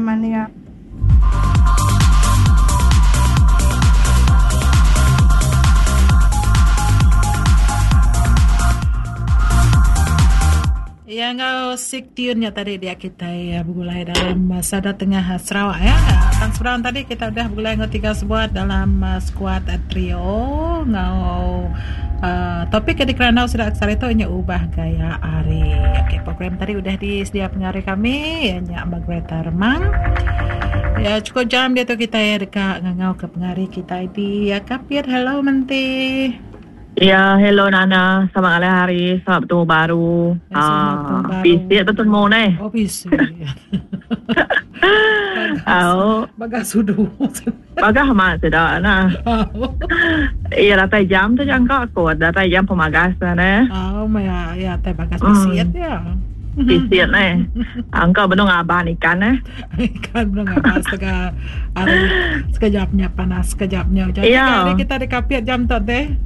jeman iya. Iya enggau sig tune nya tadi dia kitai begulai dalam sada tengah Sarawak ya. Tang seberang tadi kita udah begulai enggau tiga sebuat dalam skuad trio enggau uh, topik ke dikerandau sida sehari tu nya ubah gaya hari. Okey, program tadi udah disedia pengari kami iya nya Margaretha Remang. Ya cukup jam diatu kitai deka ngangau ke pengari kitai di Kapit. Hello Menti. Ya, hello Nana. Selamat ngalih hari. Selamat betemu baru. Ya, selamat betemu baru. Bisi betemu neh. Oh, bisi. Au. Bagah sudu. Bagah amat sida nah. Iya datai jam tu jangka aku. Datai jam pemagas neh. Oh, maya ya tai bagas bisit ya. Bisit neh. Angka benung ngaban ikan neh. Ikan benung ngaban setengah hari sekejapnya panas sekejapnya hujan. Ya. Hari kita di Kapit jam tu teh.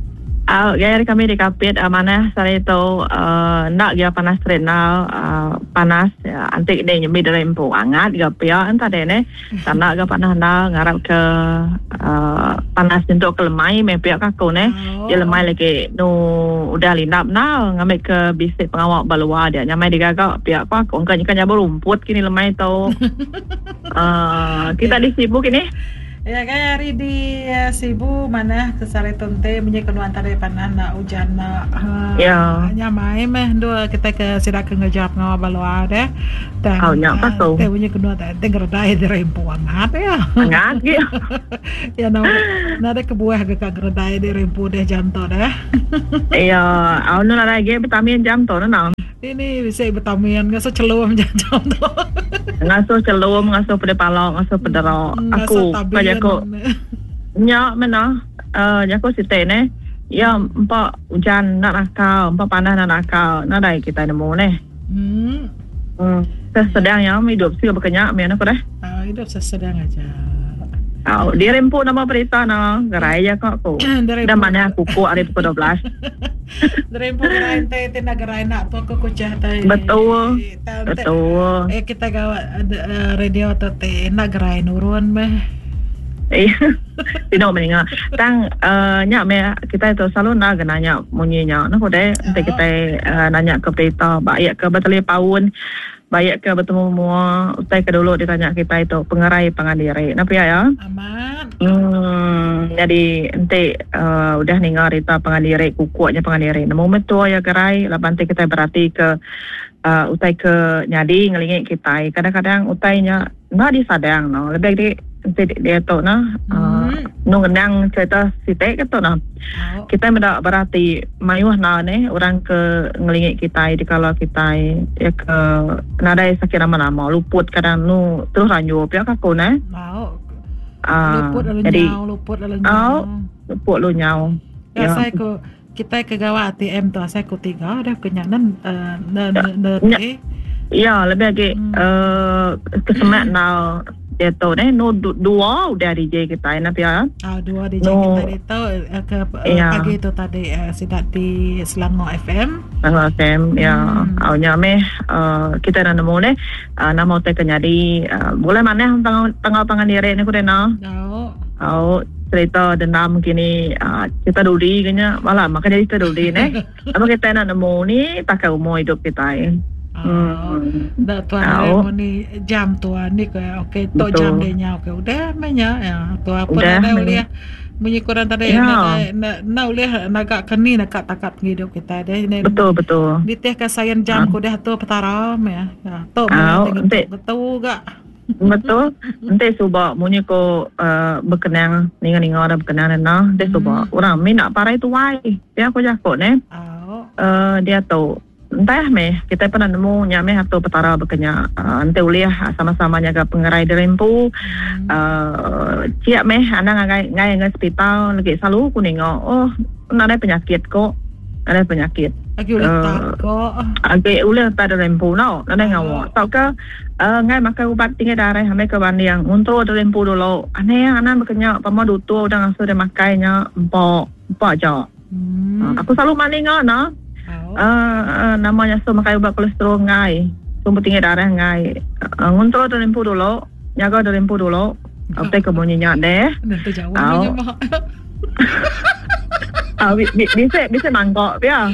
Au, gaya hari kami di Kapit uh, manah sehari tu uh, enda gaya panas terit endar uh, panas uh, anti ni nyembi diri empu angat ga pia entah deh neh. Tak enda ga panas endar ngarap ke uh, panas nyentuk ke lemai meh pia ka aku neh. Oh. Dia lemai lagi nu udah lindap endar ngambi ke bisi pengawa ba luar dia nyamai digaga pia ko aku engka nyeka nyabur rumput kini lemai tu. Uh, kita di Sibu kini. Ya gaya hari di Sibu manah ke sehari tu enti munyi ke nuan tadi panah enda ujan enda Ya. nyamai meh endur kitai ke sida ke ngereja pengawa ba luar deh. Tang Au nya pa tu. enti munyi ke nuan tadi enti ngeredai diri empu angat iya. Angat gi. Ya nadai kebuah ga ka ngeredai diri empu deh jam tu deh. Ya, au nu nadai agi vitamin jam tu neh. Ini bisi vitamin ngasuh chelum jam tu. Ngasuh chelum, ngasuh pedih pala, ngasuh pedera. Aku ka jaku nya meh nah uh, jaku siti neh. Ya empa ujan enda nakal, empa panas enda nakal, nadai kitai nemu neh. Hmm. Hmm. Sesedang ya hidup sik baka nya meh ku deh. Uh, hidup sesedang aja. Au, diri empu nama berita na gerai ja ka aku. Dah manah kuku ari pukul 12. Diri empu gerai enti ti enda gerai enda tu aku kuchah tai. Betul. Betul. Eh kita gawa radio tu ti enda gerai nurun meh. Iya. Tino meh ninga. Tang uh, nya meh kita tu selalu enda ga nanya munyi nya. Nah udah enti kitai uh, nanya ke berita baik ke betelepaun Baik ke betemu mua, utai ke dulu ditanya kitai tu pengerai pangan diri. Enda pia ya? Amat. Hmm, nyadi enti uh, udah ninga rita pangan diri, kukuk nya pangan diri. Nemu meh tua iya gerai laban enti kitai berati ke uh, utai ke nyadi ngelingi kitai. Kadang-kadang utai nya enda disadang no. Lebih agi enti diatu nah uh, nu ngenang cerita siti ke tu nah. Kitai meda berati mayuh enda neh orang ke ngelingi kitai dikala kitai iya ke nadai sakit nama-nama luput kadang nu terus ranjur pia ka aku neh. Uh, luput lalu jadi, nyau, luput lalu nyau. Luput lalu nyau. Ya. Asai ku kitai ke gawa ATM tu asai ku tiga dah ke nya nen uh, ne ne ne. Ya, lebih agi hmm. uh, kesemak nau diatu neh nu dua udah DJ kitai nah pia. Ah dua DJ no. kitai ditu eh, ke eh, ya. pagi tu tadi uh, sida di Selangor FM. Selangor FM ya. Hmm. Au nya meh uh, kita dah nemu neh uh, nama utai ke nyadi uh, boleh manah tangau tangau pangan diri ni ku dena. Au. Au cerita dendam kini uh, cerita dudi kenya malah maka jadi cerita dudi neh. Apa kita nak nemu ni pakai umur hidup kita. Hmm. Dah tuan oh. ni jam tuan ni ke okey tu jam dia nya okey udah meh nya ya tu apa udah ulih munyi kurang tadi ya. na na ulih naga keni naka takat penghidup kita deh betul betul ditih ke sayan jam ha. ku dah tu petara meh ya tu meh betul ga Betul. Enti suba munyi ko uh, bekenang ninga-ninga dah bekenang nena enti suba hmm. orang mina parai tuai. Pia ko jako ne. Oh. Uh, dia tu entah meh kita pernah nemu nya meh atur petara bekenya uh, enti ulih sama-sama nyaga pengerai diri empu hmm. uh, ciak meh anang ngai ngai ngai hospital lagi selalu ku ninga oh nadai penyakit ko Nadai penyakit. Agi ulih uh, tak ko. Agi ulih tak ada rempu no. Nadai oh. ngawa. Tauka uh, ngai makai ubat tinggi darah amai ke banding. Nguntur ada rempu dulu. Aneh anak bekenya pama dutur udah ngasuh dia makai nya empok. Empok aja. Hmm. Uh, aku selalu mandi ngau no. Oh. Uh, uh, namanya so makai ubat kolesterol ngai. Sumber tinggi darah ngai. Uh, nguntur ada rempu dulu. nyaga diri empu dulu. Utai ke munyi nya deh. Nentu jauh nya mah. Ah, bisi bisi mangkok pia.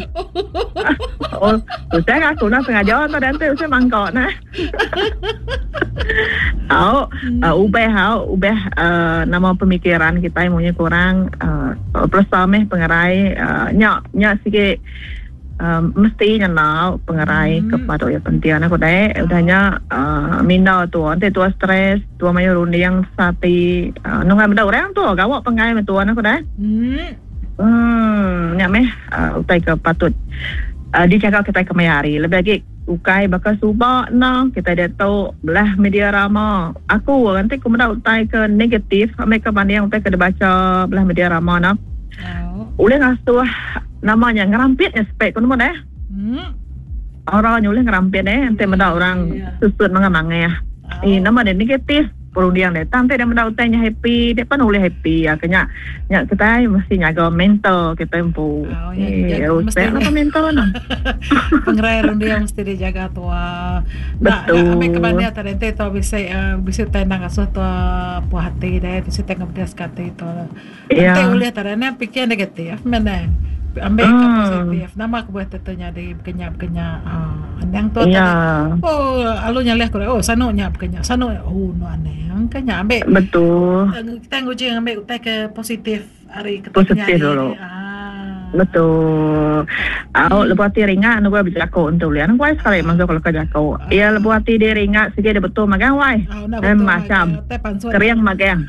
Oh, usah aku nak sengaja tu dan tu usah mangkok nah. Au, uh, ubah au, ubah uh, nama pemikiran kita munyi kurang uh, peresa meh pengerai uh, nya nya sikit um, mesti ngena pengerai hmm. ke patut ya penting aku deh. Udah nya uh, minda tu nanti tua stres, tua mayu runding sati uh, nunggai benda orang tu gawak pengai tua aku deh. Hmm. Hmm, nya meh uh, utai ke patut uh, dijaga kita ke maya hari. Lebih lagi ukai baka suba na kita dia tu belah media rama. Aku nanti ku meda utai ke negatif, ambil ke banding utai ke dibaca belah media rama na. Oh. Ulih ngasuh nama nya ngerampit nya spek ku nemu deh. Hmm. Aura nya ulih ngerampit eh enti meda orang yeah. susut mangah mangah. Oh. Eh nama dia negatif perunding dia. Tang enti dia meda utai nya happy, dia pan ulih happy ya kenya. Nya kitai mesti nyaga mental kitai empu. Oh, ya, eh, ya, mesti apa mental na. Pengerai runding mesti dijaga tua. Betul. Nak ambil kebanding tadi enti tua bisi uh, bisi utai nang asuh tua puas hati deh, bisi utai ngebedas ke hati tua. Yeah. Enti ulih tadi ne pikir negatif meh ne. Ambil ke hmm. positif. Nama ke buah tu nyadi bekenya-bekenya. Ah, anang tu yeah. tadi. Oh, alu nyalih ku oh sanu nya bekenya. Sanu oh no aneh. Kenya ambil. Betul. Kita nguji ambil utai ke positif hari ke positif dulu. Ah. Betul. Au hmm. lebuh ati ringat nu bejaku entu lian wai sekali masuk kalau ke jaku. Ah. Ya lebuh ati dia ringat sige dia betul magang wai. Oh, eh, macam. Kering magang.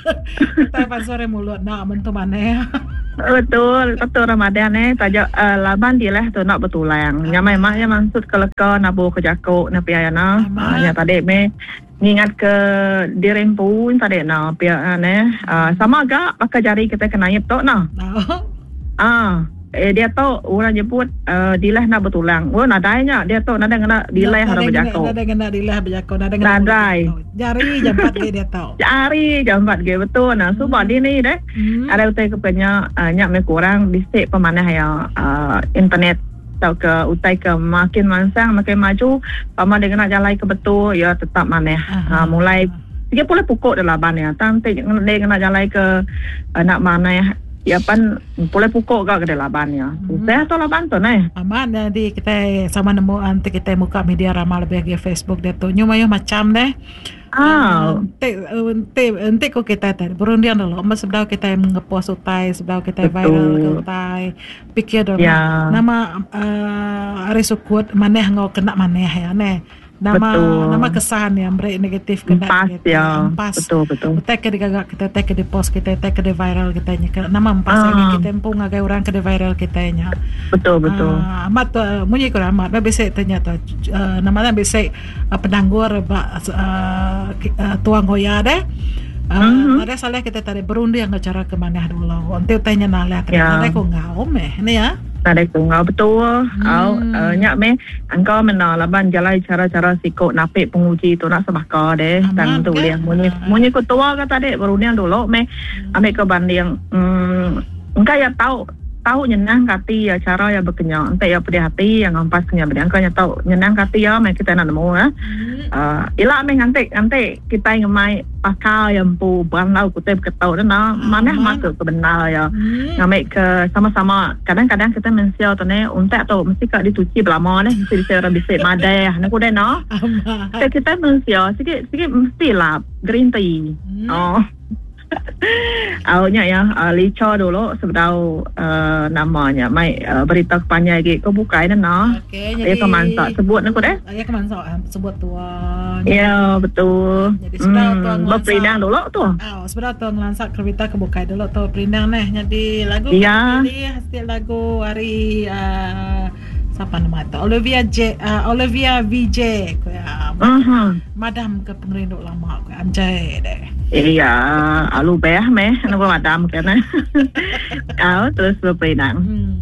Tai pansut ari mulut enda mentu manah. Betul, betul Ramadan eh taja uh, laban dilah tu nak betulang. Nya mai mak ya maksud ke leka nabu ke jaku na pia ya na. Uh, nya tadi me ngingat ke diri empu tadi na pia ne. Uh, sama ga baka jari kita ke naip tu na. Ah, eh dia tu orang nyebut uh, dilah nak betulang. Oh nadai nya dia tu nadai ngena dilah orang bejaku. Nadai ngena dilah bejaku, nadai ngena. Nadai. Jari jampat ge dia tu. Jari jampat ge betul nah. Suba hmm. dini deh. Hmm. Ada utai ke penya uh, nya me kurang bisi pemanah ya uh, internet atau ke utai ke makin mansang makin maju pama dia kena jalai ke betul ya tetap manah. Uh, mulai Tiga puluh pukul dah laban ya. Tang ti dia kena jalai ke uh, nak manah Ya pan pulai pukul ga ke laban ya. Susah tu laban tu neh. Amat jadi kita sama nemu anti kita muka media rama lebih agi Facebook dia tu. Nyu mayuh macam deh. Ah. Enti enti enti ko kita tadi berunding dulu amat sebedau kita ngepost utai sebedau kita viral ke utai pikir dulu ya. Nama uh, ari sukut maneh enggau kena maneh ya neh. Nama betul. nama kesan yang beri negatif kena empas kita. Ya. Empas. Betul betul. Utai ke digaga kita, utai ke dipost kita, utai ke di viral kita nya. Nama empas ah. kita empu ngagai orang ke di viral kita nya. Betul betul. Uh, amat tu munyi ku amat ba bisi tanya tu uh, nama nya bisi uh, penanggur ba uh, uh, tuang hoya deh. Uh, mm-hmm. Ada salah kita tadi berunding ke cara ke manah dulu. Enti utai nya nalah tadi Ya. nadai ku ngau meh ni ya. Nadai ku ngau betul. Hmm. Au uh, nya meh Engkau mena laban jalai chara-chara siku napi penguji tu enda sebaka deh. Tang tu ulih munyi munyi ku tua ke tadi berunding dulu meh ambi ke banding emm engka iya tau tau nyenang ke ati iya chara iya bekenya enti iya pedih ati iya ngampas ke nya bedih engka nya tau nyenang ke ati iya meh kitai enda nemu eh. Ila meh nganti nganti kitai ngemai pakar iya empu berandau ke utai beketu ne nah manah masu ke bendar iya ngambi ke sama-sama kadang-kadang kitai mensia tu neh untak tu mesti ka dituchi belama neh mesti bisi orang bisi madah ne ku deh noh kitai mensia sigi sigi mesti lap green tea oh. Au nya ya licha dulu sebedau uh, nama nya mai uh, berita ke panjai agi ke bukai ne nah. Okey jadi ke mansa sebut ne ku deh. Ya ke mansa sebut tua. Ya betul. Jadi sebedau hmm, tua ngelansa. Berperindang dulu tu. Au sebedau tua ngelansa ke berita ke bukai dulu tu perindang neh. Jadi lagu ya. pilih setiap lagu hari uh, Sapa nama tu? Olivia J, uh, Olivia VJ ku ya. Uh-huh. Madam ke pengerindu lama ku anjay deh. Iya, alu beh meh nama madam ke nah. Au terus berperindang. Hmm.